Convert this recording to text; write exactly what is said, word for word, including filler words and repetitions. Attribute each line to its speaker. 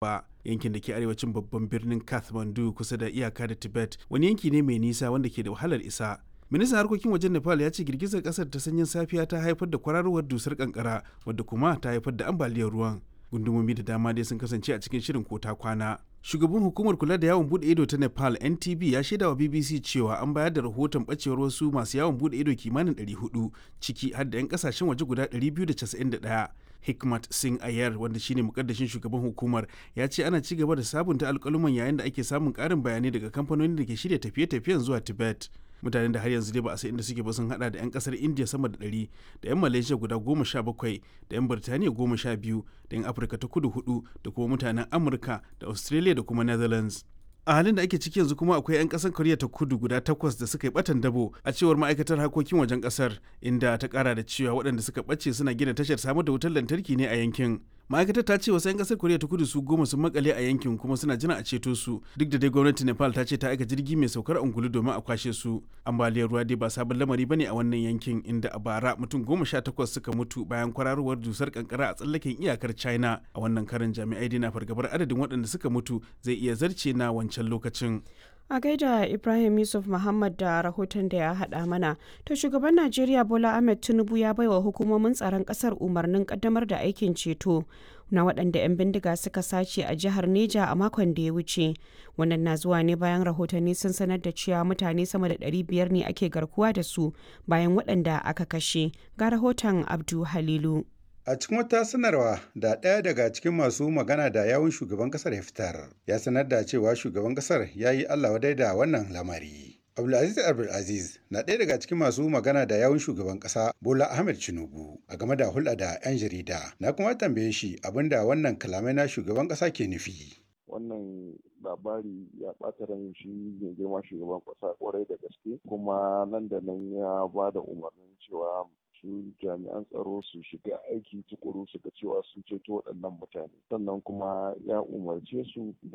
Speaker 1: Ba yankin da ke arewacin babban birnin Kathmandu kusa da iyaka da Tibet wani yanki ne mai nisa wanda ke da wahalar isa. Ministan harkokin wajen Nepal ya ce girgizar kasar ta sanyin safiya ta haifar da kwararowar dusar kankara wadda kuma ta haifar da ambaliyar ruwan. Gundumomi da dama dai sun kasance a cikin shirin kota kwana. Shugaban hukumar kula da yawon bude ido ta Nepal N T B ya shaida wa B B C cewa an bayar da rahoton bacewar wasu masu yawon bude ido kimanin ɗari huɗu, ciki har da 'yan kasashen waje guda ɗari biyu da casa'in da ɗaya. Hikmat Singh Ayer, wanda shine mukaddashin shugaban hukumar, ya ce ana ci gaba da sabunta alkaluman yayin da ake samun karin bayanai daga kamfanonin da ke shirya tafiye-tafiyen zuwa Tibet. Mutanen da har yanzu dai ba a san inda suke ba sun hada da 'yan kasar India sama da ɗari, da 'yan Malaysia guda goma sha bakwai, da 'yan Birtaniya goma sha biyu, da 'yan Afirka ta Kudu hudu, da kuma mutanen Amurka da Australia da kuma Netherlands. A halin da ake ciki yanzu kuma, akwai 'yan kasar Koriya ta Kudu guda takwas da suka yi batan dabo, a cewar ma'aikatar harkokin wajen kasar, inda ta kara da cewa waɗanda suka ɓace suna gina tashar samar da wutar lantarki ne a yankin. Ma'aikatar ta ce wasu 'yan kasar Koriya ta Kudu su goma sun makale a yankin kuma suna jira a ceto su, duk da dai gwamnatin Nepal ta ce ta aika jirgi mai saukar angulu domin a kwashe su. Ambaliyar ruwa dai ba sabon lamari bane a wannan yankin, inda a bara mutum goma sha takwas suka mutu bayan kwararowar dusar kankara a tsallaken iyakar China. A wannan karin, jami'ai dai na fargabar adadin waɗanda suka mutu zai iya zarce na wancan lokacin.
Speaker 2: A gaida Ibrahim Yusuf Muhammad da rahoton da ya haɗa mana. To, shugaban Najeriya Bola Ahmed Tinubu ya baiwa hukumomin tsaron ƙasar umarnin ƙaddamar da aikin ceto na waɗanda 'yan bindiga suka sace a jihar Neja a makon da ya wuce. Wannan na zuwa ne bayan rahotanni sun sanar da cewa mutane sama da ɗari biyar ne ake garkuwa da su bayan waɗanda aka kashe. Ga rahoton Abdu Halilu.
Speaker 3: A cikin wata sanarwa da ɗaya daga cikin masu magana da yawun shugaban ƙasar ya fitar, ya sanar da cewa shugaban ƙasar ya yi Allah wadai da wannan lamari. Abdulaziz Abdulaziz na ɗaya daga cikin masu magana da yawun shugaban ƙasa Bola Ahmed Tinubu a game da hulɗa da 'yan jarida. Na kuma tambaye shi abin da wannan kalamai na shugaban ƙasa ke nufi.
Speaker 4: Wannan labari ya ɓata ran shi mai girma shugaban ƙasa kwarai da gaske, kuma nan da nan ya ba da umarnin cewa su jami'an tsaro su shiga aiki tukuru su ga cewa sun ceto waɗannan mutane, sannan kuma ya umarce su da